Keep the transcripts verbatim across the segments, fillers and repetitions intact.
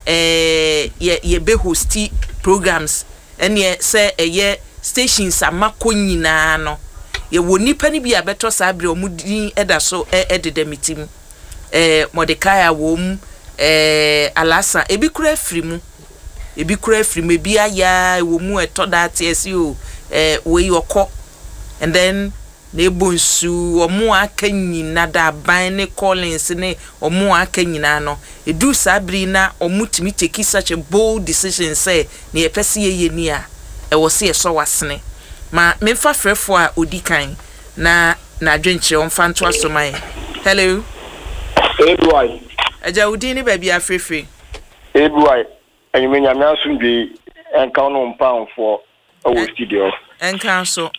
ɛɛ yɛ yɛbɛ host programs, ɛneɛ sɛ ɛyɛ stations amakɔ nyinaa no, yɛwɔ nipa no bi a bɛtɔ saa bere ɔmo din ɛda so ɛdeda mi ti mu. ɛɛ Mordecai wɔ mu, ɛɛ Alasa, ebi kura afiri mu, ebi kura afiri mu, ebi aya wɔ mu. Ɛtɔ da ate ɛsi o, ɛɛ wei ɔkɔ and then na ebo nsu. Ɔmo aka nyina da aban ne Collins ne ɔmo aka nyinaa no, edu saa bere na ɔmo tumi take such a bold decision sɛ nea yɛpɛ sɛ yɛyɛ ni a ɛwɔ sɛ yɛsɔ wasene. Ma memfa frɛfoɔ a odi kan na n'adwenkyerɛ ɔmfa nto aso ma yɛn. Hello. A B Y. Agya, wo din ne baabi afirifiri? A B Y, enyim Nyame asomdwe ɛnka wo no mpamfoɔ ɛwɔ studio. Ɛnka so.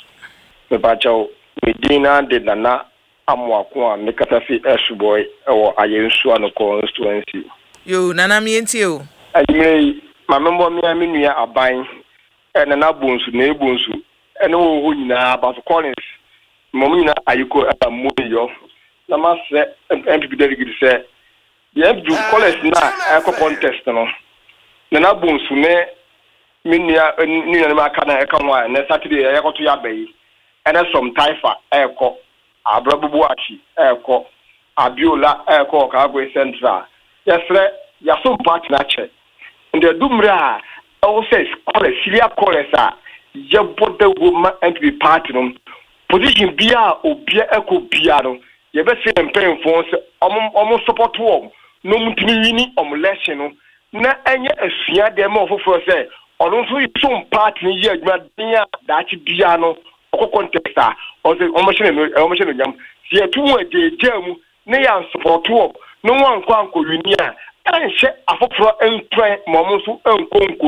Mepakyɛw, me din na de Nana Amoako a mekasa fi Ɛsobɔi ɛwɔ Ayɛnsu ano constituency. Yo, Nana, mientie o. Enyimire yi, maame, mbɔ mmea me nua aban ɛ Nana Bonsu na Ebonsu ɛne wɔ hɔ nyinaa, Abaso Collins mmom nyinaa ayiko ɛba mmo yɔ na masrɛ N P P delegate sɛ yɛn N P P college na ɛkɔ contest no, Nana Bonsu ne me nua ne nuanom aka na ɛka ho a, ɛnɛ Saturday ɛyɛkɔto yɛ aba yi, ɛnɛ sɔm taifa ɛɛkɔ Abrabubu akyi, ɛɛkɔ Abiola, ɛɛkɔ Ɔkaagoe Central. Yɛsrɛ yaso party n'akyɛ nti ɛdu mmerɛ a ɛwɔ sɛ college senior college a yɛbɔ dawuro ma N P P party no position bia a obia ɛkɔ bia no, yɛbɛsɛ yɛn mpanyinfoɔ sɛ ɔmo ɔmo support wɔn na ɔmo ntumi win ɔmo election no, na ɛnyɛ asua deɛ ma ɔfoforɔ sɛ ɔno nso som party no yɛ adwuma den a daakye bia no ɔkɔ contest a ɔsɛ ɔmo hyɛ no ɔmo hyɛ no nyam. Sɛ yɛtu mu agyeegyaa mu ne yɛ an support wɔn na wɔn ankɔ ankɔ win a, ɛnhyɛ afoforɔ ntwɛn ma ɔmo nso nkɔ nko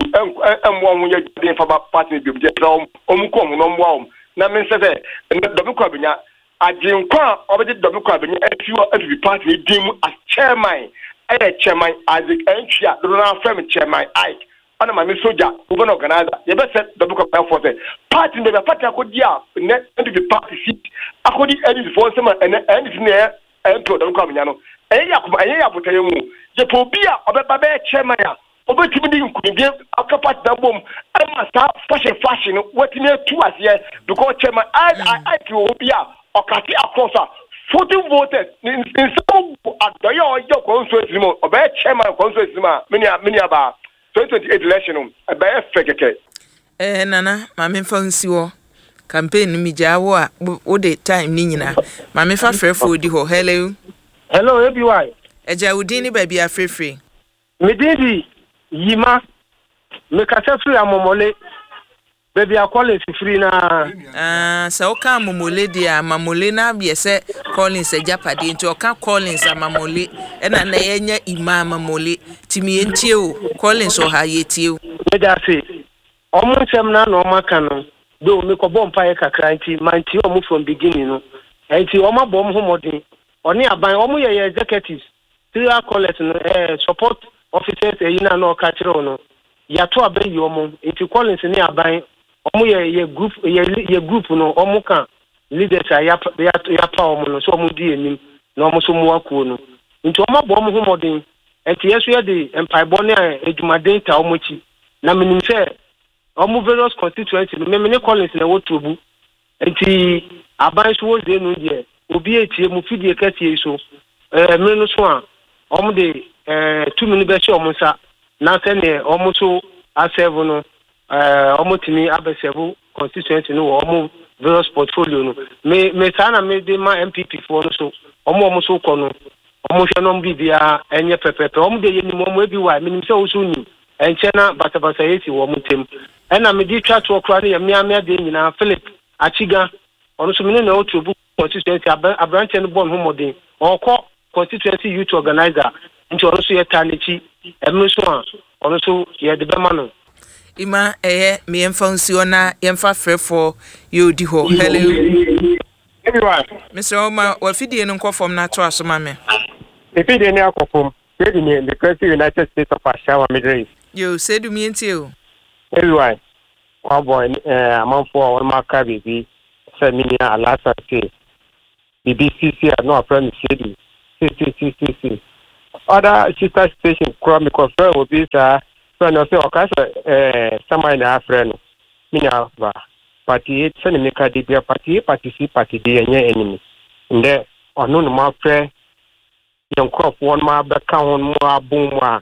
ɛmmoa wɔn yɛ den fa ba party no biom. Deɛ ɛsɛ wɔn ɔmo kɔ ɔmo na ɔmmoa wɔn na me nsɛ sɛ ɛnɛ Dɔmi kɔ abenya agyenkwa a ɔbɛgye Dɔmi kɔ abenya afi hɔ afifi party no din mu as chairman ɛyɛ Chairman Isaac Ɛntwi a dodo naa fɛm Chairman Ike, ɔna Maame Soja women organizer. Yɛbɛsɛ Dɔmi kɔ abenya fɔ sɛ party no baabi a party akɔdi a nnɛ N P P party seat akɔdi N D C foɔ nsɛm a ɛnɛ N D C ne ɛyɛ M P Dɔmi kɔ abenya no, ɛyɛ yɛ akoma, ɛyɛ yɛ abotayɛ mu. Yɛpɛ obi a ɔbɛba bɛyɛ chairman a obetumi de nkunimdie aka party na bom ɛma saa fashion fashion no watumi atu aseɛ, because Chairman Ike wɔ hɔ bi a ɔkate across a forty voters ne nsɛm gu adɔyɛ a ɔyɛ constituency mu. Ɔbɛyɛ chairman constituency mu a menia menia baa twenty twenty eight election no ɛbɛyɛ fɛ kɛkɛ. ɛɛ nana, maame, fa nsi hɔ. Campaign no mi gyaa wo a wode time ne nyinaa. Maame, fa frɛfoɔ di hɔ. Hello. Hello, A B Y. Agya, wo din ne baabi afirifiri? Me din di Yima, mekasa firi Amomole, baabi a Collins firi naa. Ah, sɛ woka Amomole deɛ a, Amamole no abyɛ sɛ Collins agyapadeɛ nti ɔka Collins Amamole ɛna na yɛnya Ima Amamole. Nti yɛntie o, Collins wɔ ha, yɛtie o. Meda ase. Ɔmo nsɛm na na ɔmo aka no do, mekɔbɔ mpaeɛ kakra nti mantie ɔmo from beginning no. Nti ɔmo abɔ ɔmo ho mmɔden, ɔne aban ɔmo yɛ yɛ executives serial callers no, ɛɛ support officers ɛyi na na ɔka kyerɛ wo no, yàtɔ abɛyi ɔmo. Nti Collins ne aban ɔmo yɛ yɛ group yɛ yɛ group no, ɔmo ka leaders a yapa yapa ɔmo no so ɔmo di anim na ɔmo nso mmoa kuo no. Nti ɔmo abɔ ɔmo ho mmɔden, nti yɛ so yɛde mpaebɔ ne adwumaden ta ɔmo akyi. Na menim sɛ ɔmo various constituency no, mímí ne Collins na ɛwɔ Tuobu, nti aban so wɔ zenu deɛ obi etie mu fidie kɛseɛ yi so. ɛɛ mmiri no so a ɔmo de ɛɛ tumi no bɛhyɛ ɔmo nsa na sɛneɛ ɔmo so a serve no, ɛɛ ɔmo tumi abɛ serve constituency no wɔ ɔmo various portfolio no. Me me saa na me de ma N P P foɔ no so, ɔmo ɔmo so kɔ no, ɔmo hwɛ na ɔmo biribiara ɛnyɛ pɛpɛpɛ. Ɔmo de yɛ nim ɔmo ebi wa menim sɛ ɔso nim ɛnkyɛn na basabasa yɛ si wɔ ɔmo ntɛm. Ɛna me de twa toɔ koraa no yɛ mmeammea deɛ nyinaa, Philip Achiga, ɔno nso me ne na ɛwɔ Tuobu constituency. Aberanteɛ no bɔ ne ho mmɔden, ɔkɔ constituency youth organizer, nti ɔno nso yɛtaa n'akyi. Ɛno nso a ɔno nso yɛde bɛma no. Ima, ɛyɛ meyɛmfa nsi hɔ na yɛmfa frɛfoɔ yɛ odi hɔ. Hello. Everyone. Mesrɛ wo, ma wafidie no nkɔ fam na ato aso ma me. Mefidie ne akɔ fam. Sɛdi ne mekura United States of Ashawa, Middle East. Yo, sɛdu, mientie o. Everyone, wabɔ amanfoɔ a wɔn aka biribi sɛ me nua Alasa se biribi sisi a na wafrɛ no Sɛdu sisisisisi. Other sister station kora mekɔfrɛ obi saa frɛ no sɛ ɔka sɛ ɛɛ saman na afrɛ no. Me nua ba, party A sɛne meka de bia, party A, party C, party D ɛnyɛ enemy. Ndɛ ɔno ne mo afrɛ yɛn nkurɔfoɔ no abɛka ho no mo abom mu a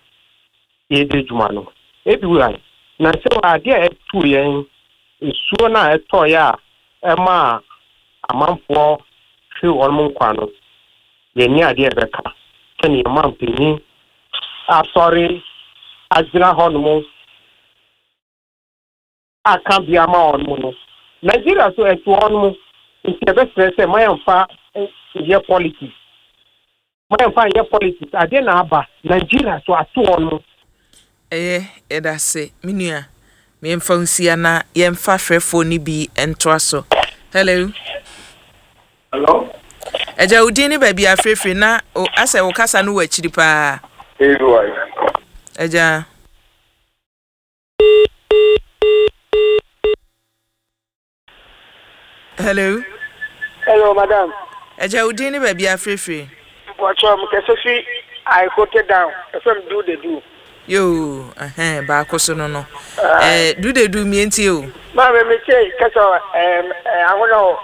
yɛdi dwuma no. Ebi wura na sɛ adeɛ a ɛtu yɛn nsuo no a ɛtɔeɛ a ɛma amanfoɔ hwere wɔn mo nkwa no, yɛnni adeɛ a ɛbɛka sɛne yɛma mpanyin asɔre agyina hɔnom aka bia ma wɔn mo no. Nigeria so ɛto wɔn mo, nti yɛbɛsrɛ sɛ ma yɛmfa yɛ politics, ma yɛmfa yɛ politics. Adeɛ na aba Nigeria so ato wɔn mo. Ɛyɛ, yɛda ase, me nua. Yɛmfa nsia na yɛmfa frɛfoɔ no bi ntoa so. Hello. Hello. Agya, wo din ne baabi afirifiri na o asɛ wo kasa no wɔ akyiri paa. Hey, wife. Agya. Hello. Hello, madam. Agya, wo din ne baabi afirifiri. Mpɔkyɛ mo kɛse fi Aikote down. Ɛfɛm du de du. Yoo, ɛhɛn, baako so no no. Ɛɛ, du de du mientie o. Maame, mi tie kɛsɛ ɛɛm ahono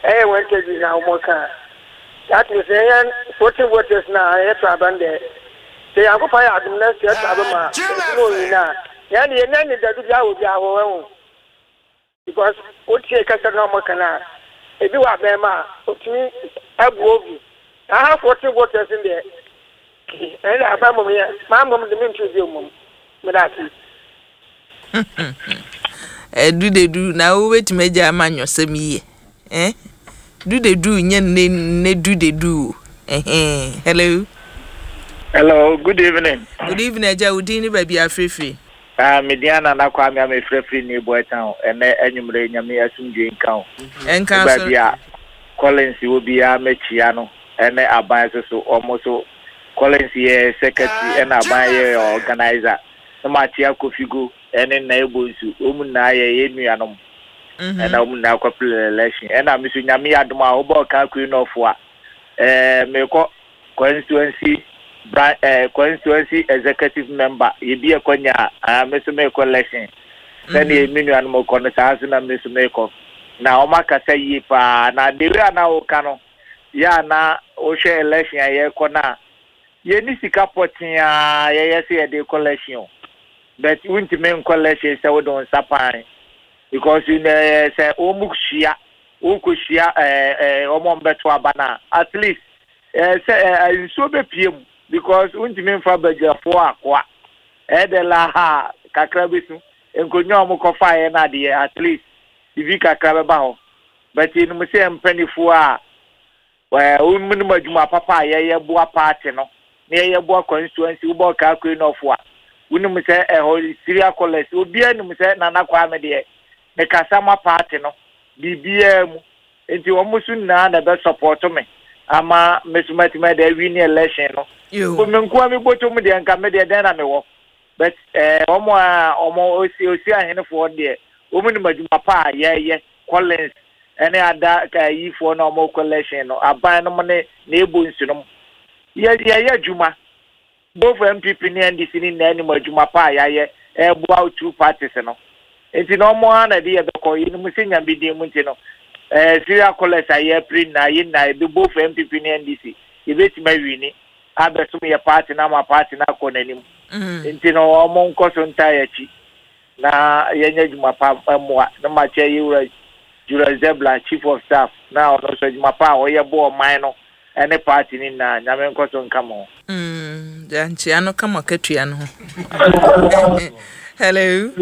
ɛyɛ wɔn interview na wɔn ka. That means ɛyɛ fourteen voters na ɛyɛ to aban dɛ. Sɛ yankopɔn yɛ adum na sɛ ɛto aban ma ɛdum oyi na yɛn de yɛn nan ne dadu bi awɔ bi awɔ wɔn o. Because o tie kɛsɛ na wɔn ka na ebi wɔ abɛn mu a otumi abu obi. Aha fourteen voters deɛ ɛyɛ aban mom yɛ maa mom de mi ntu bi mom mi da ase. Ɛdu de du na wobɛtumi agya ama nyɔsɛm yie. Eh? Du de du nyɛ nne nne du de du o. Ɛhɛn. Hello. Hello, good evening. Good evening, agya. Wo din ne baabi afirifiri. Ah, me din Nana Kwame a mefrɛfiri New Boy Town. Ɛnɛ anwummerɛ, Nyame asomdwe nka wo. Ɛnka so. Baabi a Collins wɔ biara, mɛkyia no. Ɛne aban so so ɔmo so Collins yɛ secretary ɛna aban yɛ organizer. Na makyia Kofigo ɛne Nna Ebo nsu. Wɔn nyinaa yɛ yɛn nuanom. Ɛna wɔn nyinaa kɔpere election. Ɛna me so Nyame yɛ adom a wobɔ ɔka Queen of a ɛɛ mekɔ constituency bran ɛɛ constituency executive member yɛbi ɛkɔnya a, me so mekɔ election sɛdeɛ me nuanom kɔ no, saa nso na me so mekɔ. Na wɔn akasa yie paa na the way a na wɔka no yɛ a na wohwɛ election a yɛrekɔ no a, yɛni sika pɔtee a yɛyɛ sɛ yɛde kɔ election o, but wontumi nkɔ election sɛ wode wo nsa pan, because ɛɛ sɛ wɔn mu hyia wokɔhyia ɛɛ ɛɛ wɔn a wɔbɛto aba no a, at least ɛɛ sɛ ɛɛ nsuo bɛpie mu, because wontumi mfa badwafoɔ akoa ɛyɛ la ha kakra bi so nkonnwa a wɔn kɔfaeɛ no adeɛ, at least bibi kakra bɛba hɔ. But yɛnim sɛ mpanimfoɔ a ɛɛ wɔn nim adwuma papa a yɛyɛ boa party no na yɛyɛ boa constituency. Wobɔ Kaakoi nɔfo a, wonim sɛ ɛhɔ Syria College, obiara nim sɛ Nana Kwame deɛ ne kasa ma party no biribiara mu, nti wɔn nso nyinaa na ɛbɛ support me ama me so mɛtumi de awi ne election no. Yo. Bo me nkoa mi bɔtɔ mu deɛ, nka me deɛ dɛn na mewɔ? But ɛɛ wɔn a wɔn osi osi ahenefoɔ deɛ, wɔn nim adwuma pa a yɛyɛ. Collins ɛne ada ayifoɔ na wɔn kɔ election no, aban no mo ne na ebo nsu no yɛ yɛyɛ adwuma. Both N P P ne N D C ne nyinaa nim adwuma pa a yɛayɛ ɛɛboa two parties no, nti na wɔn ara na ɛde yɛ bɛkɔ. Yɛnim sɛ Nyame din mu nti no, ɛɛ Syria College a yɛpere nyinaa, yɛn nyinaa yɛbɛ both N P P ne N D C yɛbɛtumi awini abɛsom yɛ party no ama party no akɔ n'anim. Mm. Nti no wɔn nkɔ so ntaa yɛ akyi na yɛnyɛ adwuma pa mmoa na makyɛ yɛwura Julius Zebla, chief of staff, na ɔno nso adwuma pa a ɔyɛ bɔ ɔman no ɛne party no nyinaa, Nyame nkɔ so nka mo ho. Mm. Gya nkyea no kama katua no ho. Hello.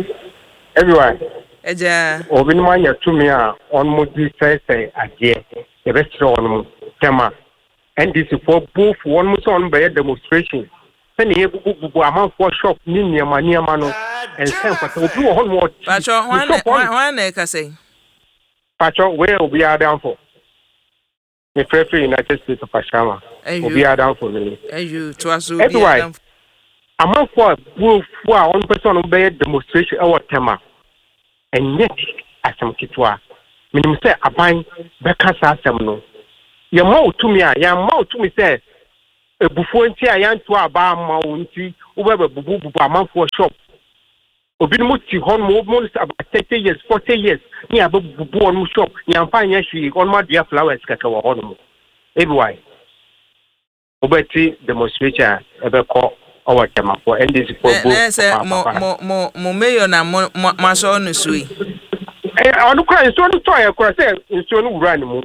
Everyone. Agya. Obinom anya tumi a wɔn di sɛesɛe adeɛ. Yɛbɛkyerɛ wɔn mo tɛm a N D C foɔ both wɔn mo sɛ wɔn bɛyɛ demonstration sɛnea yɛbubububu amanfoɔ shop ne nneɛma nneɛma no, ɛnsɛ mfata. Obi wɔ hɔ nom ɔte Patro, hwan na ne shop hɔ. Hwan na ɛkasa yi? Patro, wei yɛ obiara adamfo, mefrɛfrɛ United States of Ashama. Ayo. Obiara adamfo no ni. Ayo, toa so. Everywhere. Obiara adamfo. Amanfoɔ a buofuo a wɔn pɛ sɛ wɔn bɛyɛ demonstration ɛwɔ Tɛma, ɛnyɛ asɛm ketewa. Menim sɛ aban bɛka saa asɛm no. Yɛma wo tumi a, yɛama wo tumi sɛ Ebufuo nti a yɛnto aba ama wo nti wobɛbɛbubububu amanfoɔ shop. Obinom te hɔ nom almost about thirty years, forty years ne yɛabɛbubu wɔnom shop, yɛamfa nyɛ hwee, wɔnom adua flowers kɛkɛ wɔ hɔ nom. Ebi wobɛte demonstration a ɛbɛkɔ ɔwɔ Tɛmafoɔ N D C foɔ bo. Na sɛ mo mo mo mo mayor na mo mo mo asɔ no so yi. Ɔno kora nsuo no tɔɔyɛ kora sɛ nsuo no wura ne mu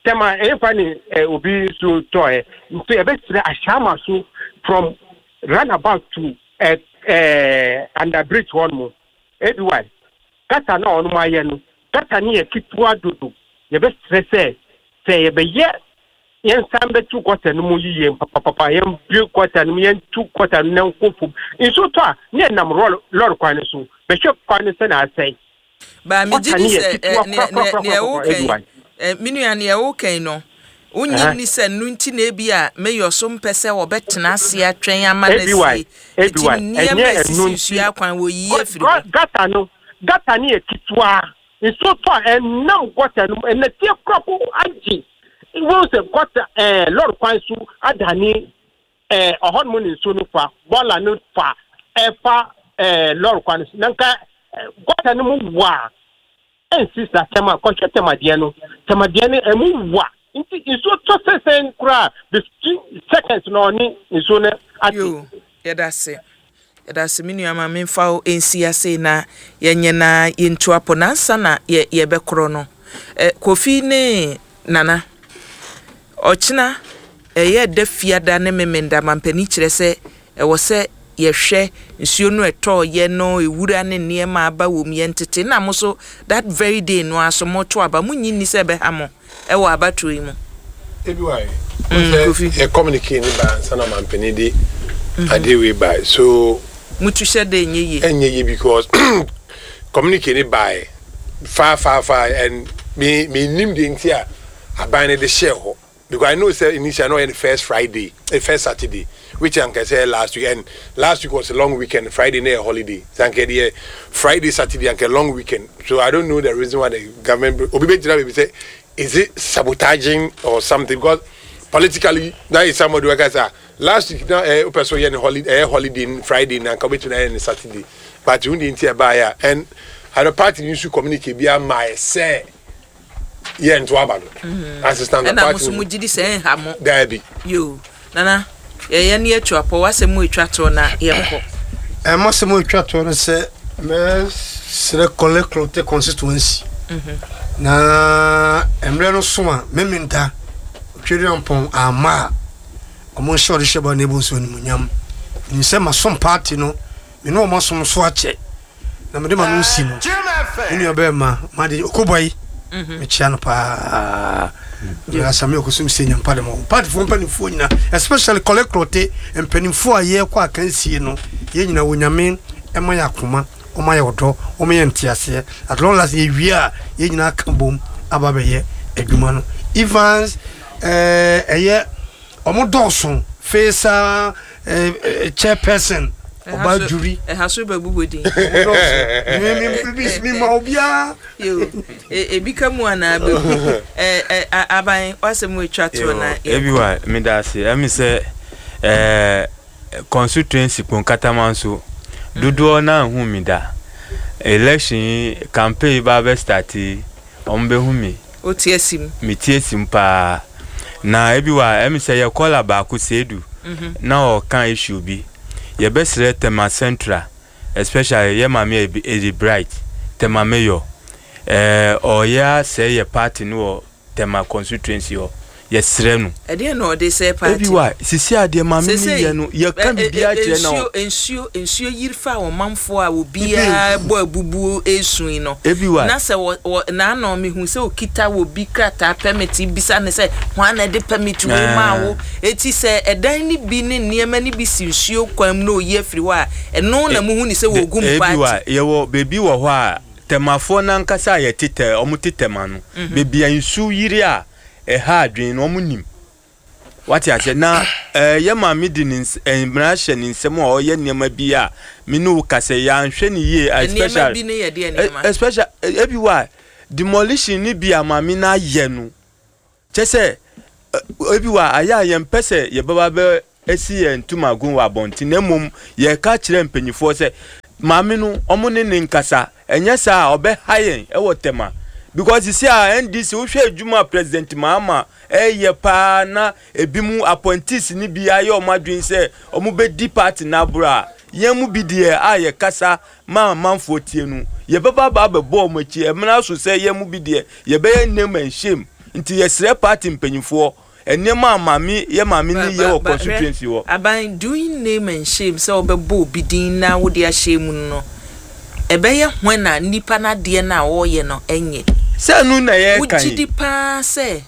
Tɛma ɛyɛfa ne ɛ, obi nsuo tɔɔyɛ nso yɛbɛsrɛ Ahyɛama so from roundabout to ɛ ɛ under bridge hɔ nom. Ebi wa gutter na ɔnom ayɛ no, gutter no yɛ ketewa dodo. Yɛbɛsrɛ sɛ sɛ yɛbɛyɛ yɛnsan bɛtu gutter no mu yie papapapa, yɛnbue gutter no mu, yɛntu gutter no na nkɔ fam. Nsuo tɔ a ne yɛnam rɔl lɔre kwan no so bɛhwɛ kwan no sɛ na asɛe. Ba megye Gutter di no yɛ sɛ ketewa ɛ, nea nea nea korakorakorakora. wokan Ebi ɛ, me nua, nea wokan no wonyi Ɛhɛ. ni sɛ no nti na ebi a mayor so mpɛ sɛ wɔbɛtena ase atwɛn ama no Ebi wa asie ebi nti wa nneɛma ɛnyɛ a ɛno esisi nti nsuo akwan wɔyi afiri hɔ. Gutter no gutter no yɛ ketewa, nsuo tɔ a ɛnam gutter no mu ɛnɛteɛ korako agye wɔn sɛ gutter ɛɛ lɔri kwan so adane ɛɛ ɔhɔnom ne nsuo no fa bɔɔla no fa ɛfa ɛɛ lɔri kwan no so na nka ɛɛ gutter no mu wa ɛnsi sa. Tɛma kɔhwɛ tɛmadeɛ no, tɛmadeɛ no ɛmu wa nti nsuo tɔ sɛsɛn koraa, fifteen seconds na ɔne nsuo no ate. Yo, yɛda ase, yɛda ase, me nua. Ma memfa wo nsi ase na yɛnyɛ na yɛntu apɔ nansa na yɛ yɛbɛkorɔ no. Ɛ, Kofi ne Nana, ɔkyena ɛyɛ da Fiada ne Memenda, mampani kyerɛ sɛ ɛwɔ sɛ yɛhwɛ nsuo no ɛtɔɔyɛ no, ewura ne nneɛma aba wɔ mu, yɛntete na mo so that very day no aso moto aba. Monyi nni sɛ ɛbɛha mo ɛwɔ abatoɔ yi mu? Ebi wa yi Mm, Kofi. Yɛ communicate ne ba ansa na mampanin de adeɛ wei ba so. Mutu hyɛ de nyɛ yie. Ɛnyɛ yie because communicate ne ba far far far and me me nim de nti a aban ne de hyɛ hɔ, because I know say initially no, the first Friday, the first Saturday, which anka say last week, and last week was a long weekend. Friday na a holiday, so anka the Friday, Saturday anka long weekend. So I don't know the reason why the government, obi be gyina baabi say, is it sabotaging or something? Because politically that is somebody who say last week na eh ope so yɛ ne holiday, eh holiday Friday na anka obetu na yɛ ne Saturday, but wundi nti ɛbaa ya and the party nso communicate bi ama yɛ sɛ yɛ nto aba no assistant. Ɛna mo so mo gyi di sɛ ɛnha mo? Daabi. Yo, Nana, yɛyɛ ne yɛtu apɔ wasɛm mu etwa toɔ na yɛnkɔ. Ɛma sɛ mo etwa toɔ no sɛ mɛsrɛ Korle Klottey constituency na mmerɛ no so a Memenda Otwedeampɔn ama a ɔmo nhyɛ ɔde hyɛ ba na ebu nso animuonyam nim sɛ masom party no, me ne ɔmo asom so akyɛ na mede ma no nsi no me nua bɛrima made okobɔ yi, mekyia no paa. Asame ɔkɔsom sɛ nyampa de ma wo partyfoɔ mpanimfoɔ nyina, especially Korle Klottey mpanimfoɔ a yɛkɔ akansie no, yɛn nyina wɔ Nyame ɛma yɛ akoma, ɔma yɛ ɔdɔ, ɔma yɛ nteaseɛ. At long last yɛwie a yɛn nyinaa ka bom aba bɛyɛ adwuma no. Evans ɛɛ ɛyɛ ɔmo dɔɔso fesa ɛɛ chairperson ɔbaa juri. Ɛha so bɛbobɔ din. Ɔmo dɔɔso mi ma obiara. Yo, e- ebi ka mu anaa bɛgu ɛ ɛ a- aban wasɛm mu etwa toɔ na Ebi wa meda ase. Ɛmi sɛ ɛɛ constituency Kponkatama nso dodoɔ naa hu mi da election yi, campaign yi ba bɛ start yi, ɔmo bɛ hu mi. O ti esi mu. Mi tie sim paa na ebi wa ɛmi sɛ yɛ kɔla baako seedu na ɔka issue bi. Yɛbɛsrɛ Tema Central, especially yɛ maame Edi Bright, Tema mayor, ɛɛ ɔyɛ asɛ yɛ party no wɔ Tema constituency hɔ. Yɛsrɛ no. Ɛdeɛ na ɔde sɛ party? Ebi wa sisi adeɛ maame ni yɛ no, yɛka biribiara kyerɛ na nsuo nsuo nsuo yiri fa ɔmanfoɔ a obiara bɔ abubuo esu yi no. Ebi wa na sɛ wɔ wɔ n'ano mihu sɛ okita wɔ bi krataa permit, bisa ne sɛ hwan na ɛde permit wei maa wo? Eti sɛ ɛdan ne bi ne nneɛma ne bi si nsuo kwan mu na oyi afiri hɔ a, ɛno na muhu ne sɛ wɔgu mu ebi wa party. Yɛwɔ beebi wɔ hɔ a Tɛmafoɔ nankasa a yɛte tɛ ɔmo te Tɛma no, beebi a nsuo yiri a ɛha adwene no, ɔmo nim wate aseɛ na ɛɛ yɛ maame de ne ns mmara hyɛ ne nsam a ɔyɛ nneɛma bi a me ne wo kasa yɛanhwɛ ne yie. Nneɛma Especially bi ne yɛ deɛ nneɛma? Especially ebi wa demolition ni bi a maame na ayɛ no kyɛ sɛ ebi wa ayɛ a yɛmpɛ sɛ yɛbɛba bɛ esi yɛn ntomago wɔ abɔnten na mmom yɛka kyerɛ mpanyinfoɔ sɛ maame no ɔmo ne ne nkasa ɛnyɛ saa a ɔbɛha yɛn ɛwɔ Tema because sisi a N D C wohwɛ adwuma a President Mahama ɛyɛ paa na ebi mu appointees ni bi ayɛ ɔmo adwene sɛ ɔmo bɛdi party n'aboro a yɛn mu bi deɛ a yɛkasa ma amanfoɔ tie no yɛbɛba aba abɛbɔ ɔmo akyi ɛmena so sɛ yɛn mu bi deɛ yɛbɛyɛ name and shame. Nti yɛsrɛ party mpanyinfoɔ nneɛma a maame yɛ maame ni yɛ wɔ constituency hɔ. Aban doing name and shame sɛ ɔbɛbɔ obi din na wode ahyɛ mu no, ɛbɛyɛ hwan na nipa n'adeɛ no a ɔreyɛ no ɛnyɛ? Sɛ nu na yɛ kan wogye yi di paa sɛ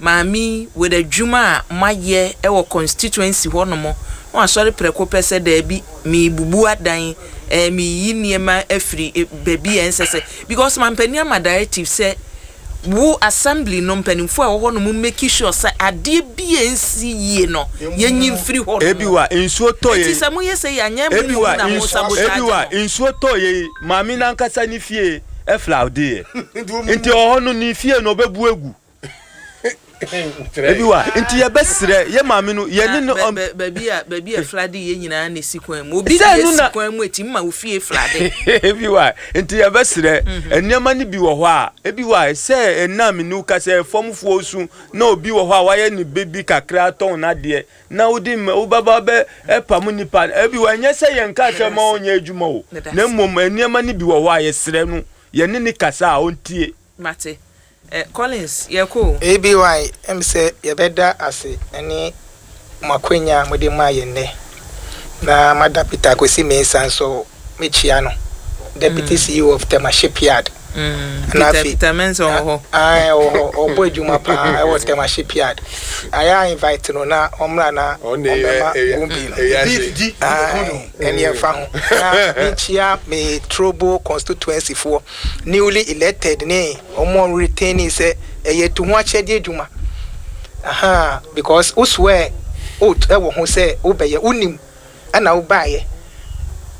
maame wɔ adwuma a moayɛ ɛwɔ constituency hɔnom na wasɔre prɛko pɛ sɛ daabi, meebubu adan, ɛɛ meeyi nneɛma afiri eh, baabi a ɛnsɛ sɛ, because mampanin ama directive sɛ wo assembly no mpanimfoɔ a ɛwɔ hɔ nom make sure sɛ adeɛ bi a ɛnsi yie no yɛnyi mfiri hɔ ebi wa nsuo tɔ Nti yɛ sɛ moyɛ sɛ yɛ anyɛ mu ebi wa na mo nsuo sabotage ebi wa no. Nsuo tɔ yɛ yi, maame nankasa ne fie ɛflood yɛ nti ɔhɔ no ne fie no ɔbɛbu egu ebi wa. Nti yɛbɛsrɛ yɛ maame no yɛne no Na ɔm bɛ- bɛ- baabi a baabi a flood yɛ nyinaa na esi kwan mu obi Sɛ de ɛno esi na- kwan mu eti ma ofie flood. Ebi wa nti yɛbɛsrɛ nneɛma no bi wɔ hɔ a ebi wa sɛ ɛnam ne ka sɛ fɔmfoɔ su na obi wɔ hɔ a wayɛ ne bebi kakra tɔn n'adeɛ na wodi mɛ wobɛba bɛ ɛpam nipa. Ebi wa ɛnyɛ sɛ yɛn ka sɛ ma ɔnyɛ adwuma o, na mmom nneɛma no bi wɔ hɔ a yɛsrɛ no yɛne ne kasa a ɔntie. Mate. eh, collins yɛkɔ o. Aby ɛm sɛ yɛbɛda ase ne mo akwanya a mode maa yɛn nnɛ na mada Peter Akwasi Mensah nso mekyia no, Deputy Mm. C E O of Tema Shipyard. Mm, Na Peter afei- Peter Mensah wɔ hɔ. Ae, ɔwɔ hɔ, ɔbɔ adwuma paa ɛwɔ Tema Shipyard. Ayɛ a invite no na ɔmmra na Ɔno na ɔbɛma ɛyɛ- gumbi no. ɛyɛ ase. Ae, ɛne ɛmfa ho na menkyia me Trobu constituency foɔ newly elected ne ɔmo retaining sɛ ɛyɛ tu ho akyɛdeɛ adwuma aha because wo swear oath ɛwɔ ho sɛ wobɛyɛ wonim ɛna wobaayɛ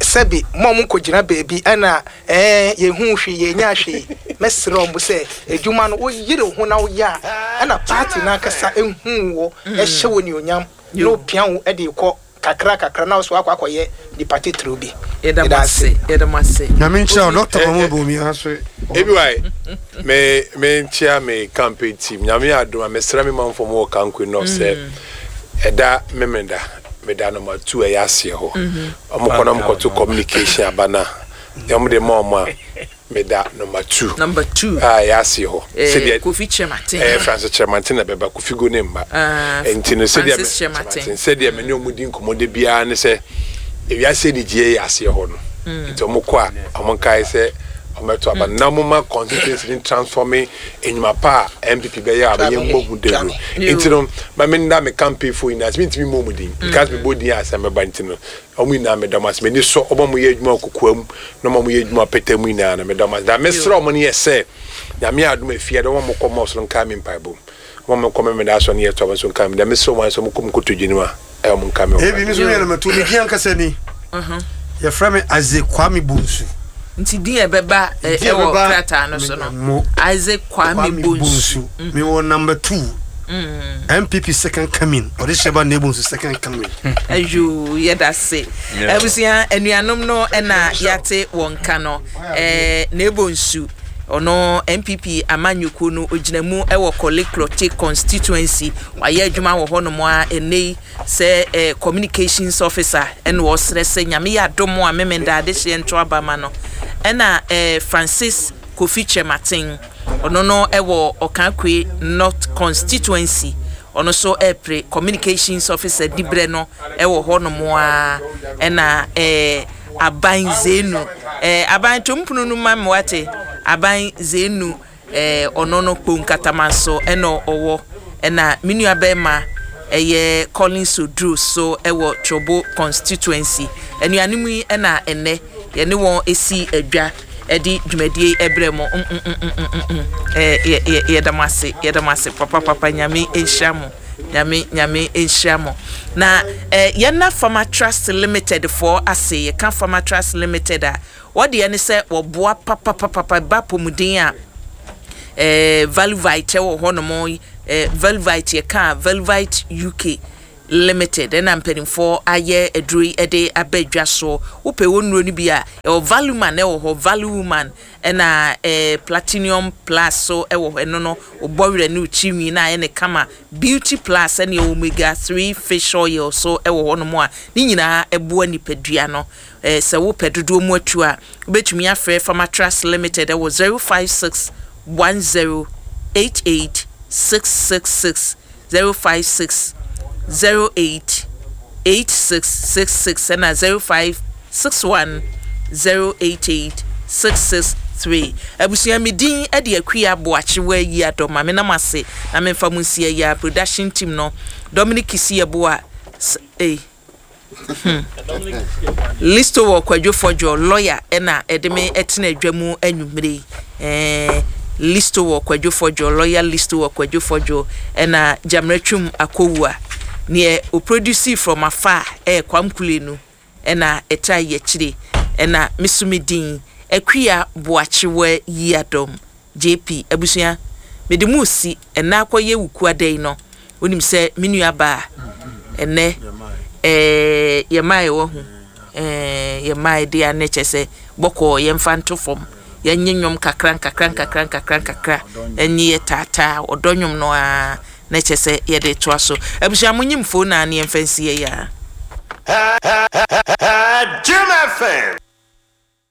sɛbi mo a mo nkɔgyina baabi ɛna ɛɛ yɛhu hwee yɛnya hwee. Mɛsrɛ ɔmo sɛ adwuma no woyere wo ho na woyɛ a ɛna party no ankasa ɛhu wo ɛhyɛ wo nionyam na opia wo ɛde kɔ kakra kakra na wo so akɔ akɔyɛ nipa titiriw bi. Yɛda mo ase, yɛda mo ase. Nyame nkyerɛ wo, Doctor Mahmood Bawumia so. Ebi wa me me nkyia me campaign team. Nyame yɛ adom a mesrɛ me manfo mu wɔ Kankwe North sɛ ɛda Memenda meda number two ɛyɛ aseɛ hɔ. Ɔmo kɔ na ɔmo kɔto communication aba na ɔmo de ma ɔmo a meda number two. Number two. A ɛyɛ aseɛ hɔ. Eh, Sɛdeɛ Kofi Kyerematen. Ɛyɛ Francis Kyerematen na bɛba, Kofi Go ne mba. Ah, nti no sɛdeɛ Francis me- Kyerematen. sɛdeɛ me ne ɔmo di nkɔmmɔ de biara ne sɛ ewiase anigyeɛ yɛ aseɛ hɔ no. Nti ɔmo kɔ a ɔmo nkae sɛ ɔmɛto aba na ɔmo ma constituency ne transforming enyuma pa a N P P bɛyɛ a bɛyɛ mbɔ hu dawuro. Nti no ma me nda me campaign fo nyinaa ase. Mentumi mmɔ mu din because me bɔ din a asɛm bɛba. Nti no ɔmo nyinaa meda mo ase. M'ani sɔ ɔmo a mo yɛ adwuma wɔ kokoa mu na ɔmo a mo yɛ adwuma pɛtɛ mu nyinaa no meda mo ase. Na mesrɛ ɔmo no yɛ sɛ Nyame adom afie dɛ ɔmo a mo kɔ mɔs no nkae me mpaebɔ mu, ɔmo a mo kɔ Memeda asɔ no yɛ to ɔmo nso nkae me dɛ mesrɛ ɔmo sɛ ɔmo kɔ mu kotodwe no mu a ɛyɛ ɔmo nkae me wɔ Ebi mi nso yɛ number two. Mi di ankasa ni yɛfrɛ me Isaac Kwame Bonsu. Nti din a ɛbɛba ɛ, Din a ɛwɔ ɛbɛba krataa no so no mo Isaac Kwame Bonsu. Mi wɔ number two, N P P second coming, ɔde hyɛ ba na Bonsu second coming. Ayo, yɛda se. Yeah. Abusua, anuanom no ɛna yɛate wɔn ka no ɛɛ na Bonsu ɔno N P P amanyɔkuo no ogyina mu ɛwɔ Korle Klottey constituency. Wayɛ adwuma wɔ hɔnom a ɛnɛ yi sɛ ɛɛ communications officer ɛna ɔsrɛ sɛ Nyame yɛ adom a Memenda adehyeɛ nto aba ma no. Ɛna ɛɛ Francis Kofi Kyerematen ɔno no ɛwɔ Okaikwei North constituency, ɔno nso ɛpere communications officer dibrɛ no ɛwɔ hɔnom a. Ɛna ɛɛ aban Zenu ɛɛ aban tompunu no ma mi wate aban Zenu ɛɛ ɔno no Kpone Katamanso ɛna ɔwɔ. Ɛna me nua bɛrima ɛyɛ Collins Oduro so ɛwɔ Trobu constituency. Anuanom yi ɛna ɛnɛ yɛne wɔn esi adwa ɛde dwumadie ɛbrɛ mo mm mm mm mm mm mm ɛɛ yɛ yɛ yɛda mo ase, yɛda mo ase papapapa. Nyame nhyira mo, Nyame Nyame nhyira mo. Na ɛɛ yɛna Farmer Trust Limited foɔ ase. Yɛka Farmer Trust Limited a wɔdeɛ ne sɛ wɔboa papapapapa ba pɔmuden a ɛɛ Valuvite ɛwɔ hɔnom. ɛɛ Valuvite, yɛka Valuvite U K. Limited ɛna mpanimfoɔ ayɛ aduro yi de aba dwa soɔ. Wopɛ wɔ nnuro no bi a, ɛwɔ Value Man ɛwɔ hɔ, Value Woman ɛna ɛɛ Platinum Plus so ɛwɔ hɔ. Ɛno no wobɔ werɛ ne wo tirinwi na ayɛ ne kama. Beauty Plus ɛne Omega three fish oil so ɛwɔ hɔnom a ne nyinaa ɛboa nipadua no. ɛɛ sɛ wopɛ dodoɔ mu atu a, wobɛtumi afrɛ Pharmatrust Limited ɛwɔ zero five six one zero eight eight six six six, zero five six zero eight eight six six six ɛna zero five six one zero eight eight six six three. Abusua, mi din ɛde Akua Aboakyewa yi adɔ maame nam ase na memfa mu nsi ɛyɛ production team no, Dominic Kisi Yeboah eh hmm. Listo wɔ Kwadwo Fɔdwo lawyer ɛna ɛde me ɛtena adwa mu anwummere yi. ɛɛ listo wɔ Kwadwo Fɔdwo lawyer, Listo wɔ Kwadwo Fɔdwo, ɛna Gyamrɛtwum Akowua neɛ oproduce from afar ɛyɛ Kwamkule no ɛna ɛta yɛ akyire, ɛna mesumi din Akua Boakyewa yi adɔm J P. Abusua, mede mu si ɛna akɔyɛ Wukuada yi no, wonim sɛ me nua baa ɛnɛ ɛɛ yɛmaa yɛwɔ ho ɛɛ yɛmaa de a ne kyɛ sɛ bɔkɔɔ yɛmfa nto fam, yɛnye nnwom kakra nkakra nkakra nkakra nkakra, ɛnye yɛ taataa ɔdɔ nnwom no a na kyɛ sɛ yɛde toa so. Abusua, mo nyim fo na ne yɛmfa nsi yɛ yɛ. Jim F M.